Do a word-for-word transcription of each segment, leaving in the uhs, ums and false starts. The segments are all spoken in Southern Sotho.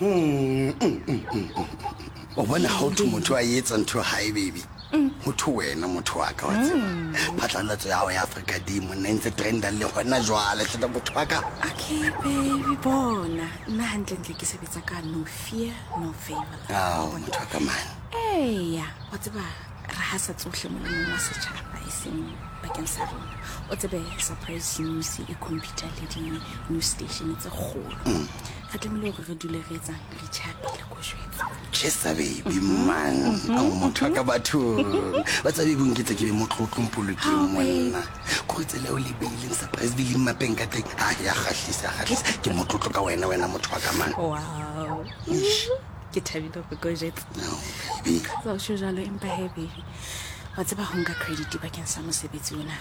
Mm, mm, mm, mm, mm. O bona ha ho motho a etsa ntho hae baby. Ho thwe wena motho wa ka wa tseba. Phatlalatso ya hao ya Africa Day monna e ntse trenda le hona jwale hle motho wa ka. Okay baby, bona nna hantlentle ke sebetsa ka no fear no favor. Ao motho wa ka man. Eya, wa tseba re hasa tsohle molemong wa setjhaba, e seng bakeng sa rona. O tsebe Surprise News e computer le di-news station tse kgolo. Re tlamehile hore re dule re etsang, re tjhapile ko jwetsa. Chesa baby man. Ao motho wa ka bathong. Wa tseba baby o nketsa ke be motlotlo mpolokeng monna. Kore tsela eo le beileng Surprise le mmapeng ka teng. Ha ya kgahlisa, ya kgahlisa. Ke motlotlo ka wena wena motho wa ka man. Wow, ke thabile hore ko jwetsa. Ao baby. Sa o tjho jwalo, empa he baby, wa tseba ho nka credit bakeng sa mosebetsi ona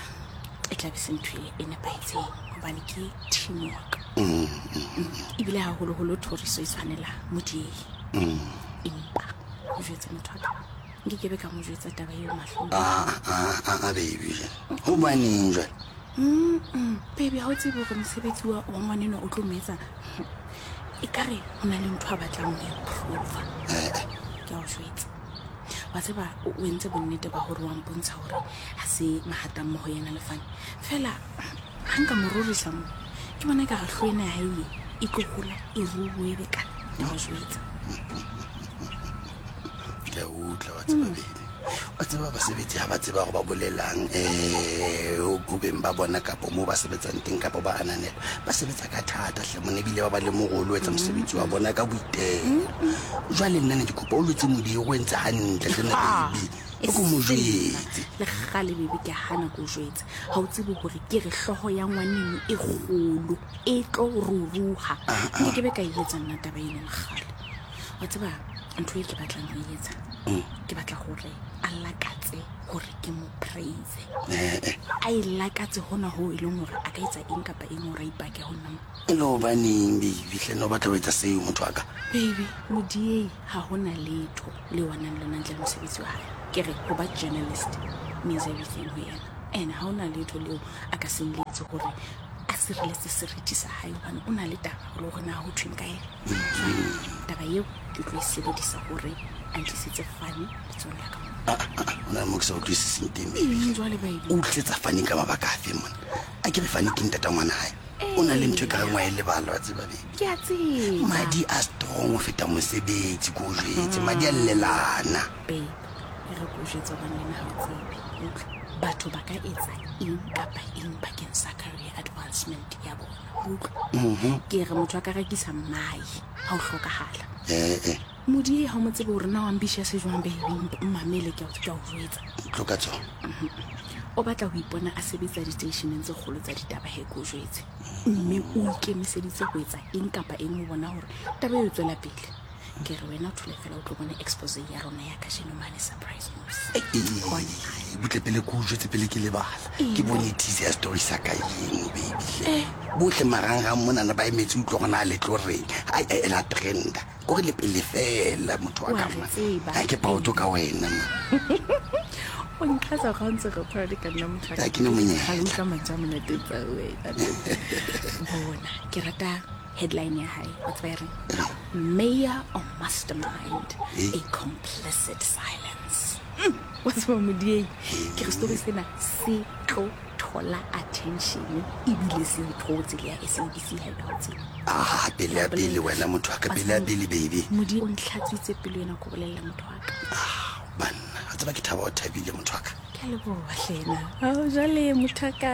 e tla be se ntho e nepahetseng, hobane ke teamwork. Ebile haholoholo thoriso e tshwanela Modiehi. Empa o jwetse motho wa ka, nkekebe ka mo jwetsa taba eo mahlong. Ah ah ah ah baby. Hobaneng jwale? Mm, baby, ha o tsebe hore mosebetsi wa wa ngwanenwa o tlo mo etsa e kare ho na le ntho a batlang ho e prova. Ke a o jwetsa, wa tseba o o entse bonnete ba hore wa mpontsha hore ha se mahatammoho yena le Fane fela. Ha nka mo rorisa mo, ke bona e ka re hlo ena ya hae e tlo hola, e ruwe be ka ke a o jwetsa. Ke a utlwa wa tseba baby. Wa tseba basebetsi ha ba tseba hore ba bolelang um ho beng ba bona kapo moo ba sebetsang teng kapo ba ananela, ba sebetsa ka thata hle monna, ebile ba ba le morolo o etsa mosebetsi wa bona ka boitelo. Jwale nna ne ke kopa o lwetse Modiri o entse hantle hle nna baby. O ko mo jwetse. Le kgale baby, ke hana ko jwetse. Ha o tsebe hore ke re hlooho ya ngwaneno e kgolo e tlo ruruha. Nkekebe ka e etsa nna taba eno le kgale. Wa tseba ntho e ke batlang ho e etsa, ke batla hore a lakatse hore ke mo praise. A e lakatse hona hoo e leng hore a ka etsa eng kapa eng hore a ipake ho nna mo. E le hobaneng baby hle nna o batla ho etsa seo motho wa ka? Baby, Modiei ha hona letho le wa nang lona ntle le mosebetsi wa hae. Ke re ho ba journalist means everything ho yena, and ha hona letho leo a ka se nletse hore a sireletse seriti sa hae, hobane o na le taba le hore na ho thweng ka yena. Jwale taba eo ke tlo e sebedisa hore a ntlisetse Fane letsohong la ka mo. Ah, ah, ah, ho na le mo ke sa utlwisiseng teng baby. Eng jwale baby? O tlisetsa Fane ka mabaka afe mona? A ke re Fane ke ntata ngwana hae. O na le ntho e ka reng wa e lebala wa tseba baby. Ke a tseba. Madi a strong ho feta mosebetsi ko o jwetse. Madi a llelana. Babe, e re ko jwetse hobane le nna ha o tsebe. Utlwa, batho ba ka etsa eng kapa eng bakeng sa career advancement ya bona. Utlwa, ke re motho a ka rekisa mmae ha o hlokahala. Eh eh. Modiei ha o mo tsebe hore na o ambitious jwang baby, mmamele ke a o ke a o jwetsa. Tlo ka tsona. O batla ho ipona a sebetsa diteisheneng tse kgolo tsa ditaba he, ke o jwetse. Mme o ikemiseditse ho etsa eng kapa eng ho bona hore taba eo e tswela pele. Ke re wena o thole fela o tlo bona expose ya rona ya kajeno mane Surprise News. Bona. Butle pele ke o jwetse pele ke lebala. Ke bone teaser ya story sa ka eno baby hle. Bohle marangrang monana ba emetse utlwa hore na le tlo reng. Ai e la trenda. Kore le pele fela motho wa Wa ka re man. tseba. Ha ke proud ka wena man. O nqatsa ga o ntse re proud ka nna motho wa ka. Ha ke no monyetla. Ha le utlwa mantswe a monate tsa wena. Bona, ke rata headline ya hae. Wa tseba e reng? Mayor or mastermind, Eh. a complicit silence. Mm, wa tseba Modiei, ke re story sena se tlo thola attention ebile se e thotse le ya S A B C ha ebe ha o tsebe. Ah, pele ya pele wena motho wa ka, pele ya pele baby. Modiei o ntlhatswitse pelo ena ko bolella motho wa ka. Ah, banna, wa tseba ke thaba o thabile motho wa ka. Ke a leboha hlena. Ao jwale motho wa ka.